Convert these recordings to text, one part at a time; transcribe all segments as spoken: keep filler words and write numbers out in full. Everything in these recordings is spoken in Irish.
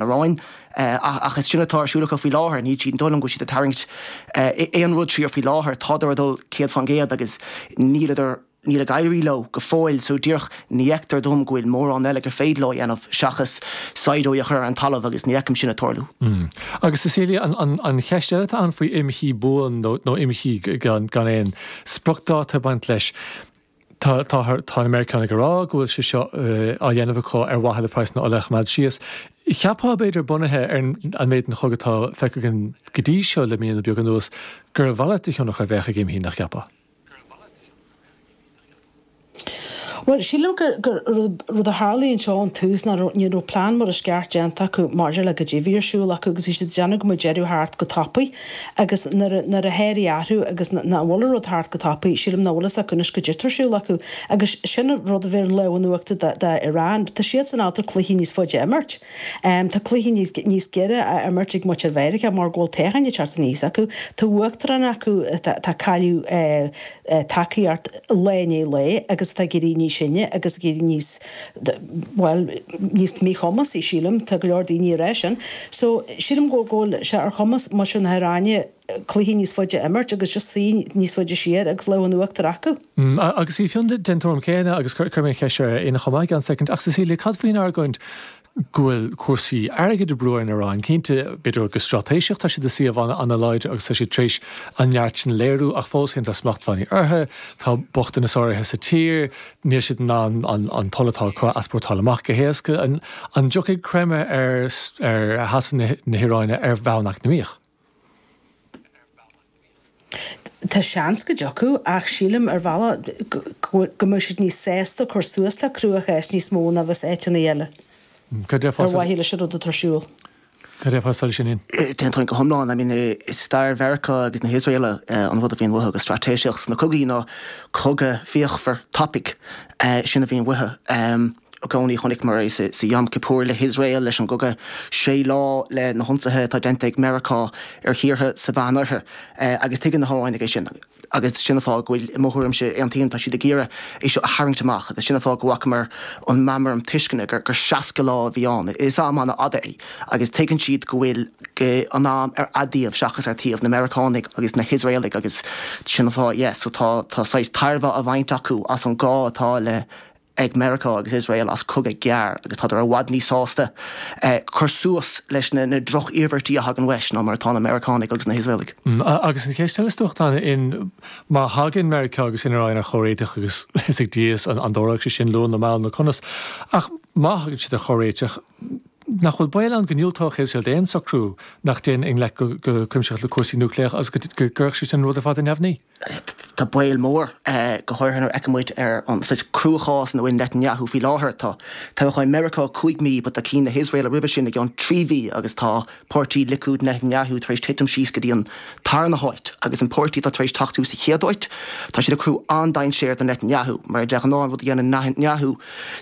Iaráin ach is sin atá ar siúl acu faoi láthair ní siad dóigh liom go bhfuil siad ag tarraingt aon rud siar faoi láthair tádar ag dul céad faoin gcéad agus níl níl ag éirí leo go fóill so díreach ní fheictear dom go bhfuil mórán eile gur féidir leo a dhéanamh seachas saighdiúirí a chur ar an talamh agus ní fheicim sin ag tarlú. Mm. Agus Cecilia an, an, an cheist eile atá ann faoi imshuí buan nó, nó imshuí gan, gan aon spriocdháta ag baint leis. Tá tá tá na Meiriceánaigh ag rá go bhfuil sé seo uh, á dhéanamh acu ar mhaithe le praghas na ola a choimeád síos. Cheapfá b'fhéidir bunaithe ar an méid den chogadh atá feicthe againn go dtí seo le míonna beaga anuas gur a mhalairt de thionchar a bheadh ag imshuí nach gceapfá. Bhuel sílim gur gur rud a tharla anseo ón tús ná ní raibh plean mar is ceart déanta acu maidir le goidé a bhí ar siúl acu agus bhí siad ag déanamh go mbeadh deireadh thart go tapaidh agus nuair nuair a théirí athrú agus nach bhfuil an rud thart go tapaidh sílim nach bhfuil fhios acu anois goidé atá ar siúl acu agus sin an rud a bhí ar an lámh in uachtar do Iran. Tá siadsan ábalta cluichí níos faide a imirt. Tá cluichí níos níos giorra á imirt ag muintir Mheiriceá mar go bhfuil toghcháin ag teacht aníos acu. Tá uachtarán acu atá ag cailleadh tacaíocht lá i ndiaidh lae agus atá ag éirí níos sine agus ag éirí níos bhuel níos míchumasaí sílim tá go leor daoine ag rá sin. So sílim go bhfuil sé ar chumas muintir na hIaráine cluichí níos faide a imirt agus just suí níos faide siar agus lámh in uachtar acu. Mm, agus bhí Fionn den tuairim céanna agus cuirfidh mé an cheist ar Éanna chomh maith i gceann soicind ach Cecilia cad faoin argóint go bhfuil cúrsaí airgid ag brú ar an Iaráin. Cinnte, b'fhéidir go straitéiseach tá siad i suíomh an-láidir agus tá siad tar éis an neart sin a léiriú ach fós féin tá smachtbhannaí orthu, tá bochtanas áirithe sa tír, níl siad in ann an t-ola atá acu a easpórtáil amach go héasca. An dtiocfaidh creimeadh ar sheasamh na hIaráine ar bhonn eacnamaíoch? Tá seans go dtiocfadh ach sílim ar bhealach go mbeadh siad níos sásta cur suas le cruachás níos mó ná bheas áiteanna eile ar mhaithe leis an rud atá ar siúl. Cad é fá sin Ian? Aontaím go hiomlán. I mean i stair Mheiriceá agus na hIosraela an rud a bhíonn uathu go straitéiseach sna cogaí ná cogadh fíochmhar tapaidh. Sin a bhíonn uathu. I gcónaí chonaiceamar é sa Yom Kippur le hIosrael, leis an gcogadh sé lá, le na hionsaithe atá déanta ag Meiriceá ar thíortha sa Mheánoirthear. Agus tuigeann na hIoránaigh é sin. Agus sin an fáth go bhfuil, i mo thuairimse, aontaím, tá siad ag iarraidh é seo a tharraingt amach agus sin an fáth go bhfacamar an meamram tuisceana gur seasca lá a bhí ann. Is am an-fhada é agus tuigeann siad go bhfuil an am ar a dtaobh seachas ar taobh na Meiriceánaigh agus na hIosraelaigh agus sin an fáth, yes, so tá tá saghas tairbhe á bhaint acu as an gá atá le ag Meiriceá agus Iosrael as cogadh gearr agus tádar i bhfad níos sásta cur suas leis na droch-iarmhairtí a thagann leis ná mar atá na Meiriceánaigh agus na hIosraelaigh. Agus an cheist eile is dócha atá ann, má thagann Meiriceá agus an Iaráin ar chomhréiteach agus is ag Dia an dtarlóidh sé sin luath nó mall nó conas, ach má thagann siad ar chomhréiteach, nach bhfuil baol ann go ndiúltódh Iosrael d'aon socrú nach dtéann i ngleic go cuimsitheach le cúrsaí núicléacha agus go gcuirfeadh sé sin an rud ar fad ar neamhní? Tá baol mór, go háirithe nuair a fheiceann muid ar an saghas cruachás ina bhfuil Netanyahu faoi láthair. Tá toghcháin Meiriceá cúig mhí, but tá cinn na hIosraela roimhe sin i gceann trí mhí agus tá páirtí Likud Netanyahu tar éis titim síos go dtí an tarna háit agus an páirtí atá tar éis teacht suas sa chéad áit, tá siad ag cruthú an-dainséar do Netanyahu mar de ghnáth an rud a dhéanann Netanyahu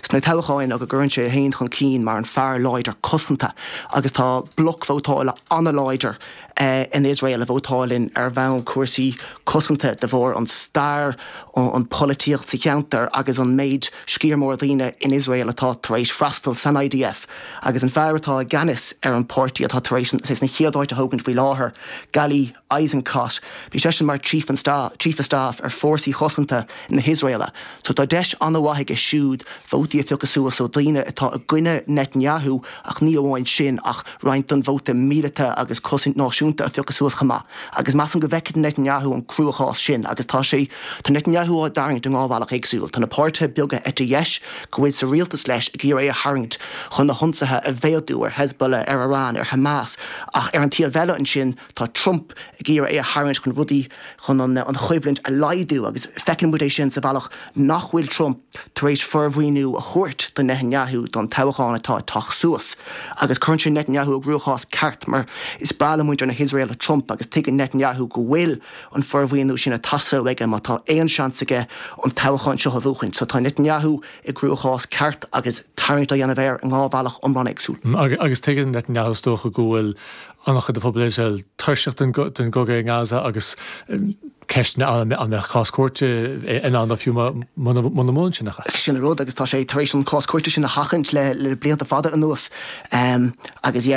sna toghcháin ná go gcuireann sé é féin chun cinn mar an fear láidir cosanta agus tá bloc vótála an-láidir in Iosrael a vótálann ar bhonn cúrsaí cosanta de bharr an stair, an pholaitíocht sa cheantar agus an méid sciar mór daoine in Iosrael atá tar éis freastal san IDF agus an fear atá i gceannas ar an páirtí atá tar éis an chéad áit a thógaint faoi láthair, Gali Eisenkot, bhí seisean mar Chief of Staff ar Fórsaí Chosanta na hIosraela so tá deis an-mhaith aige siúd vótaí a phiocadh suas ó daoine atá i gcoinne Netanyahu ach ní amháin sin ach roinnt den vóta míleata agus cosaint náisiúnta a phiocadh suas chomh maith agus measaim go bhfeicfidh Netanyahu an cruachás sin agus tá sé tá Netanyahu á dtarraingt i dhá bhealach éagsúil. Tá na páirtithe beaga eite dheis go bhfuil sa rialtas leis ag iarraidh é a tharraingt chun na hionsaithe a mhéadú ar Hezbollah, ar Iran, ar Hamas ach ar an taobh eile ansin tá Trump ag iarraidh é a tharraingt chun rudaí chun an an choimhlint a laghdú agus feiceann muid é sin sa bhealach nach bhfuil Trump tar éis formhuiniú a thabhairt do Netanyahu don toghchán atá ag teacht suas agus cuireann sé Netanyahu i gcruachás ceart mar is breá le muintir na hIosraela Trump agus tuigeann Netanyahu go bhfuil an formhuiniú sin ag teastáil aige má tá aon seans aige an toghchán seo a bhuachaint. So tá Netanyahu i gcruachás ceart agus tarraingt á dhéanamh air i dhá bhealach iomlán éagsúil. Agus tuigeann Netanyahu is dócha go bhfuil an-chuid de phobal Iosrael tuirseach den gcogadh i nGaza agus Ceisteanna an mbeadh cás cúirte in ann fiú muna mbuann sin acu. Sin an rud agus tá sé tar éis an cás cúirte sin a sheachaint le le blianta fada anuas um, agus